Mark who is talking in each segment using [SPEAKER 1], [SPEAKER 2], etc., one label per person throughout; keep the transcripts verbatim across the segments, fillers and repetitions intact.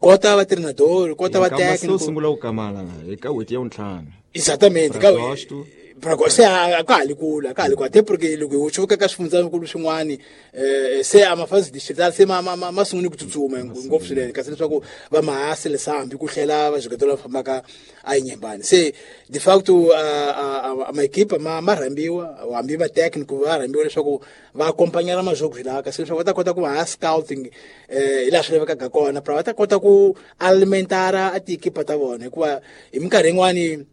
[SPEAKER 1] Kota va treinador, kota va técnico.
[SPEAKER 2] Sungula ku kamala eka wheti ya ntlhanu.
[SPEAKER 1] Exatamente, ka para se a ka li kula, ka li kwa até porque loko u chuka ka swifundzakulu swin'wani eh se a mafasi distrital se ma ma ma sungule ku tsutsuma ngopfu swinene kasi leswaku va mahasi lesambi ku hlela va jiketela fambaka a Inhambane se de facto a a ma equipa ma ma rhambiwa hambi va técnico va rhambiwa leswaku va acompanhar majogos la kasi leswaku va ta kota ku va scouting eh hi laha swi lavekaka kona para va ta kota ku alimentar a tiekipa ta vona hikuva hi minkarhi yin'wani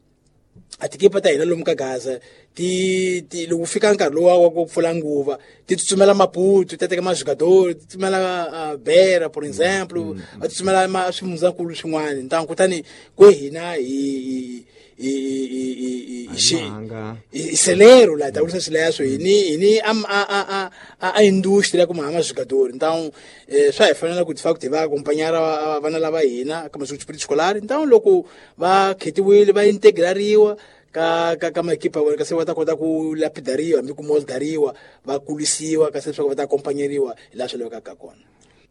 [SPEAKER 1] a tiekipa ta hina lomu ka Gaza ti ti loko fika nkarhi lowa wa ku pfula nguva ti tsutsumela Maputo ti teka majogador ti tsutsumela Beira por exemplo va tsutsumela ma swifundzakulu swin'wana ntangu kutani ku hina hi hi hi hi celero la ta vurisa swileswo hi ni hi ni a a a a industria kuma majogador então swa hi fanela ku de facto va acompanhar vana lava hina ka masiku escolar então loko va khetiwile va integrariwa ka ka ka maekipa wa kasi va ta kota ku lapidariwa hambi ku moldariwa va kulisiwa kasi leswaku va ta acompanhariwa hi laha swi lavekaka kona.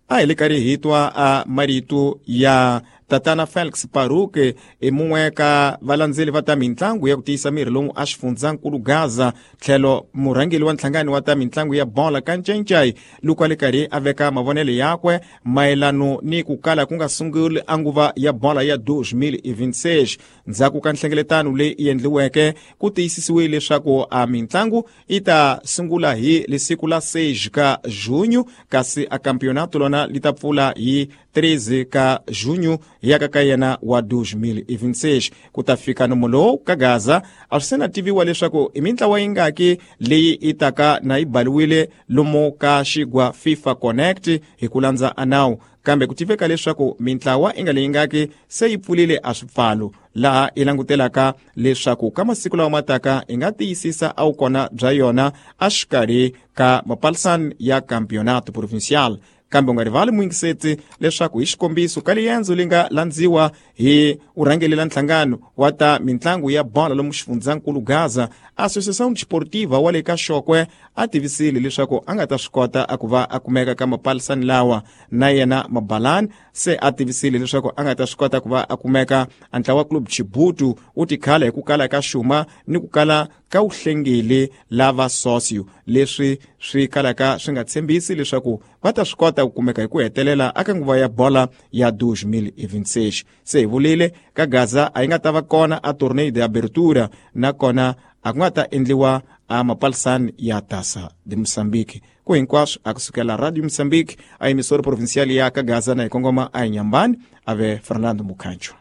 [SPEAKER 2] A hi le karhi hi twa a marito ya tatana Felix Paruke e mun'we ka valandzeli va ta mintlangu ya ku tiyisa miri lomu a xifundzankulu Gaza tlhelo murhangeli wa nhlangano wa ta mintlangu ya bola ka Ncencai loko a le karhi a veka mavonelo yakwe mayelano ni ku kala ku nga sunguli a nguva ya bola ya dois mil e vinte e seis ndzhaku ka nhlengeletano leyi endliweke ku tiyisisiwile leswaku a mintlangu yi ta sungula hi lesiku la seis ka junho kasi a campeonato lona li ta pfula hi treze ka junho yaka ka yena wa dois mil e vinte e seis ku ta fika nomo lowu ka Gaza a swi se na tiviwa leswaku i mintlawa yingaki leyi i taka na yi baliwile lomu ka xigwa FIFA Connect hi ku landza a nawu kambe ku tiveka leswaku mintlawa i nga leyi ngaki se yi pfulile a swipfalo laha i langutelaka leswaku ka masiku lawa mataka i nga tiyisisa a wukona bya yona a xikarhi ka mapalisani ya campeonato provincial. Kambe u nga rivali muyingiseti leswaku hi xikombiso ka liendzo li nga landziwa hi urhangelela nhlangano wa ta mintlangu ya bola lomu xifundzankulu Gaza Associação Desportiva wa le ka Xokwe a tivisile leswaku a nga ta swi kota a ku va a kumeka ka mapalisani lawa na yena Mabalani se a tivisile leswaku a nga ta swi kota ku va a kumeka a ntlawa Club Chibutu wu tikhala hi ku kala ka xuma ni ku kala ka wuhlengeli lava socio leswi swi kalaka swi nga tshembisi leswaku va ta swi kota ku kumeka hi ku hetelela aka nguva ya bola ya dois mil e vinte e seis se hi vulile ka Gaza a yi nga ta va kona a torneio de abertura nakona a ku nga ta endliwa a mapalisani ya Taça de Moçambique ku hinkwaswo a kusukela Radio Moçambique a emissora provincial ya ka Gaza na hi kongoma a Inhambane ave Fernando Mukhancho.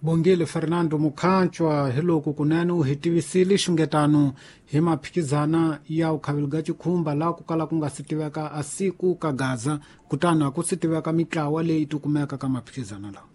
[SPEAKER 3] Bongile Fernando Mukhanchwa hi loko kunene u hi tivisile xungetano hi maphikizana ya ukhavelga chikhumba laha ku kala ku nga si tiveka a siku ka Gaza kutani a ku si tiveka mitlawa leyi tikumeka ka maphikizana lawa.